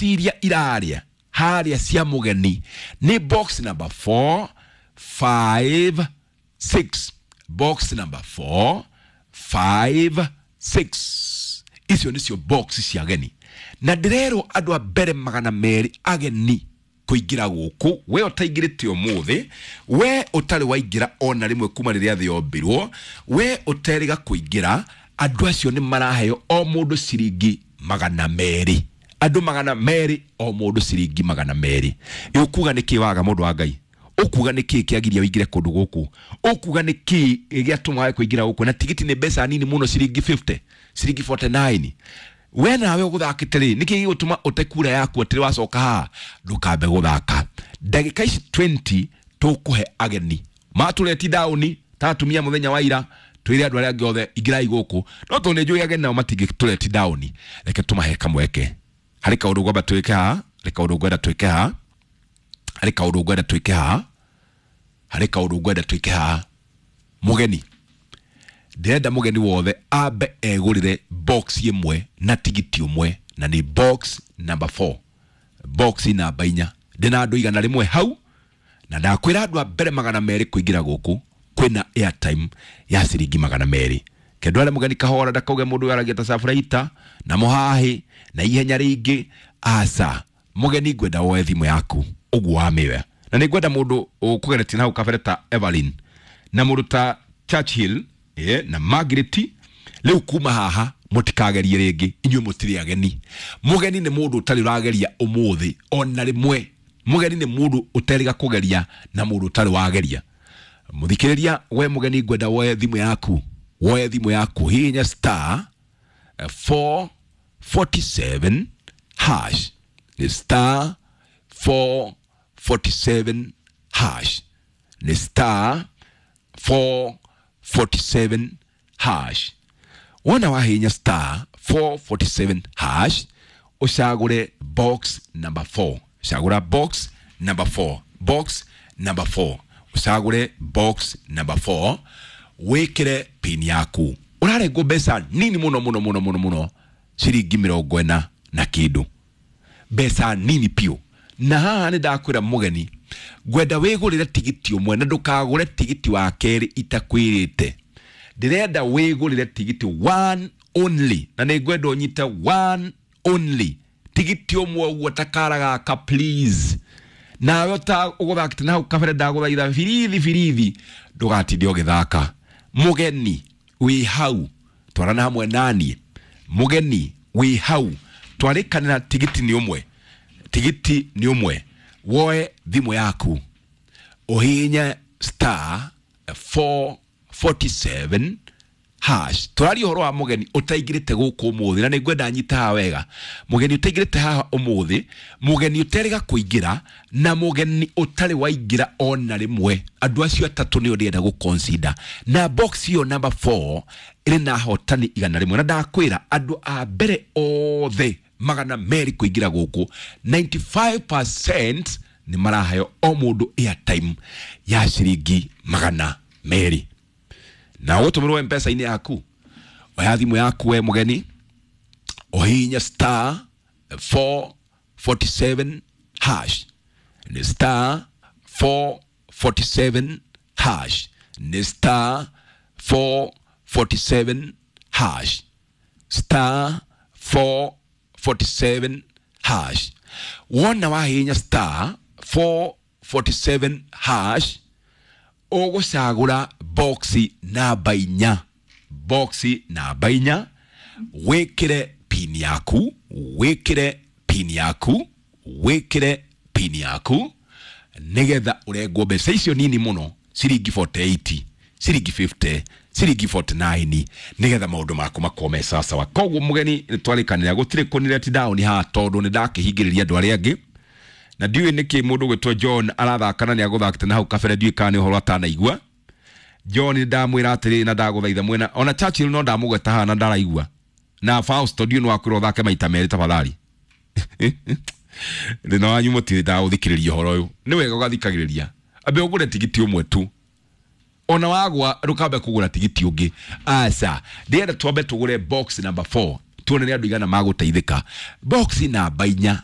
Box iria irarĩa harĩa cia mũgeni nĩ box number 4, 5, 6. Box number 4, 5, 6, icio nĩcio box cia ageni, na ndĩrerwo andũ a mbere 200 ageni kũingĩra gũkũ. We ũtaingĩrĩte ũmũthĩ, we ũtarĩ waingĩra ona rĩmwe kuma rĩrĩa thĩ yombirwo, we ũterĩga kũingĩra, andũ acio nĩ maraheo o mũndũ ciringi 200. Andũ 200, o mũndũ ciringi 200. Ĩ ũkuga nĩ kĩ waga, mũndũ wa Ngai? Ũkuga nĩ kĩ kĩagiria ũingĩre kũndũ gũkũ? Ũkuga nĩ kĩ gĩatũma wage kũingĩra gũkũ? Na tigiti nĩ mbeca nini mũno, ciringi 50, ciringi 49. We nawe ũgũthakĩte rĩ, nĩkĩ gĩgũtũma ũte kura yaku atĩrĩ wacoka haha ndũkambe gũthaka? Ndagĩka ici 20 tũkũhe ageni matũreti down ta atumia mũthenya wa ira, twĩre andũ arĩa angĩ othe ingĩrai gũkũ, no tondũ nĩ njũĩ ageni nao matingĩtũreti down, reke tũmahe kamweke. Harĩ kaũndũ ngwamba twĩke haha, harĩ kaũndũ ngwenda twĩke haha, harĩ kaũndũ ngwenda twĩke haha, harĩ kaũndũ ngwenda twĩke haha. Mũgeni, ndĩrenda mũgeni wothe ambe egũrĩre box ĩmwe na tigiti ũmwe, na nĩ box number 4, box namba 4. Ndĩna andũ 100 hau, na ndakwĩra andũ a mbere 200 kũingĩra gũkũ kwĩna airtime ya ciringi 200. Kendware mũgeni kahora, ndakauge mũndũ ũyũ aragia ta caburaita na mũhahĩ na ihenya rĩingĩ. Aca, mũgeni, ngwenda woe thimũ yaku ũguo wamĩoya, na nĩ ngwenda mũndũ ũkũgeretie na hau kabere ta Evelyn na mũndũ ta Churchill na Margaret. Rĩu kuma haha mũtikagerie rĩngĩ, inyuĩ mũtirĩ ageni. Mũgeni nĩ mũndũ ũtarĩ ũrageria ũmũthĩ ona rĩmwe. Mũgeni nĩ mũndũ ũterĩga kũgeria na mũndũ ũtarĩ wageria. Mũthikĩrĩria, we mũgeni, ngwenda woe thimũ yaku, woe thimũ yaku, hihinya star 447 hash. Nĩ star 447 hash, nĩ star 447 hash. Wona wahihinya star 447 hash, ũcagũre box number 4. Cagũra box number 4, box number 4, ũcagũre box number 4, wĩkĩre pin yaku. Ũrarengwo mbeca nini mũno mũno mũno mũno mũno, ciringi 40 na kĩndũ, mbeca nini piũ. Na haha nĩ ndakwĩra mũgeni, ngwenda wĩgũrĩre tigiti ũmwe na ndũkagũre tigiti wa kerĩ itakwĩrĩte. Ndĩrenda wĩgũrĩre tigiti one only, na nĩ ngwenda ũnyite one only, tigiti ũmwe ũguo ta kara gaka, please. Nawe ta ũgũthakĩte na hau kabere, ndagũthaitha birithi birithi, ndũgatinde ũgĩthaka. Mũgeni wĩ hau, twarana hamwe naniĩ. Mũgeni wĩ hau, twarĩkanĩra tigiti nĩ ũmwe, tigiti nĩ ũmwe. Woe thimũ yaku, ũhihinye star 447 hash. Tũraria ũhoro wa mũgeni ũtaingĩrĩte gũkũ ũmũthĩ, na nĩ ngwenda nyita haha wega. Mũgeni ũtaingĩrĩte haha ũmũthĩ, mũgeni ũterĩga kũingĩra, na mũgeni ũtarĩ waingĩra ona rĩmwe, andũ acio atatũ nĩo ndĩrenda gũ-consider. Na box ĩyo number 4 ĩrĩ na ahotani 100, na ndakwĩra andũ a mbere othe 200 kũingĩra gũkũ, 95% nĩ maraheo o mũndũ airtime ya ciringi 200, na ũgũtũmĩrwo Mpesa-inĩ yaku. Oya thimũ yaku, we mũgeni, ũhihinye star 447 hash. Nĩ star 447 hash, nĩ star 447 hash, star 447 hash. Wona wahihinya star 447 hash, ũgũcagũra boxi namba 4, boxi namba 4, wĩkĩre pin yaku, wĩkĩre pin yaku, wĩkĩre pin yaku, nĩgetha ũrengwo mbeca icio nini mũno, ciringi 48, ciringi 50, ciringi 49, nĩgetha maũndũ maku makorwo me sawasawa. Koguo mũgeni, nĩ twarĩkanĩra gũtirĩ kũni down haha, tondũ nĩ ndakĩhingĩrĩria andũ arĩa angĩ, na ndiũĩ nĩkĩ mũndũ gwĩtwo John arathaka na nĩ agũthakĩte na hau kabere. Ndiũĩ kana nĩ ũhoro atanaigua. John, nĩ ndamwĩra atĩrĩrĩ, na ndagũthaitha mwena ona Churchill no ndamũgweta haha na ndaraigua, na Fausto, ndiũĩ nĩ wakwĩrwo ũthake maita merĩ. Tafadhali, thĩna wanyu mũtirĩ ndagũthikĩrĩria ũhoro ũyũ. Nĩ wega ũgathikagĩrĩria. Ambe ũgũre tigiti ũmwe tu, ona wagwa ndũkambe kũgũra tigiti ũngĩ. Aca, ndĩrenda twambe tũgũre box number 4, tuone nĩ andũ igana magũteithĩka. Box namba 4.